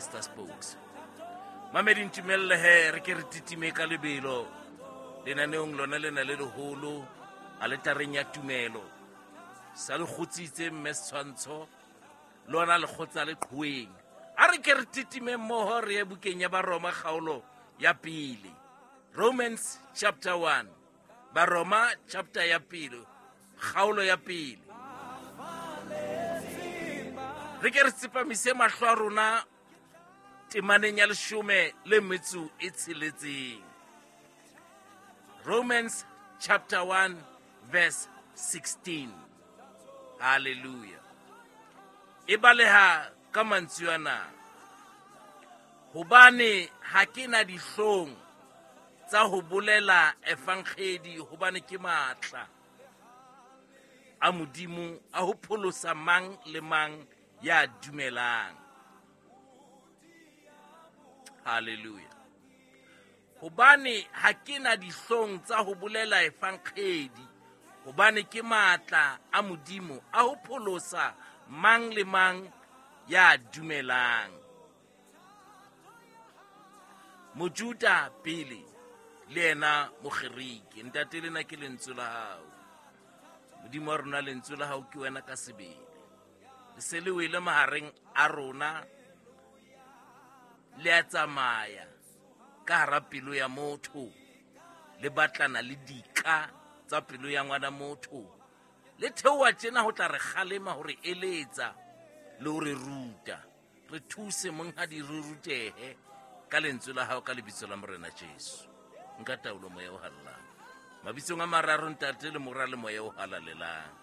Mr Spokes. Mamedi, ntumelle he re ke re titime ka lebelo lenaneong lona lena le leholo aletareng ya tumelo. Sa le kgutsitse mme setshwantsho lona le kgotsa le qhoweng. A re ke re titime mmoho re ye bukeng ya Baroma kgaolo ya pele. Romans chapter 1. Baroma chapter ya pele, kgaolo ya pele. Re ke re tsepamise mahlo a rona temaneng ya leshome le metso e tsheletseng. Romans chapter 1 verse 16. Hallelujah. E baleha ka mantswe ana. Hobane ha ke na dihlong tsa ho bolela evangedi, hobane ke matla a Modimo a ho pholosa mang le mang ya dumelang. Hallelujah. Hobane ha ke na dihlong tsa ho bolela evangedi, hobane ke matla a Modimo a ho pholosa mang le mang ya dumelang. Mojuda pele le yena Mogerike. Ntate, lena ke lentswe la hao. Modimo wa rona, lentswe la hao ke wena ka sebele. Le se le wele mahareng a rona, le a tsamaya ka hara pelo ya motho, le batlana le dika tsa pelo ya ngwana motho. Le theoha tjena ho tla re kgalema, ho re eletsa le ho re ruta. Re thuse monghadi, re rutehe ka lentswe la hao, ka lebitso la Morena Jesu. Nka taolo, moya o halalelang. Mabitsong a mararo, Ntate le Mora le Moya o halalelang.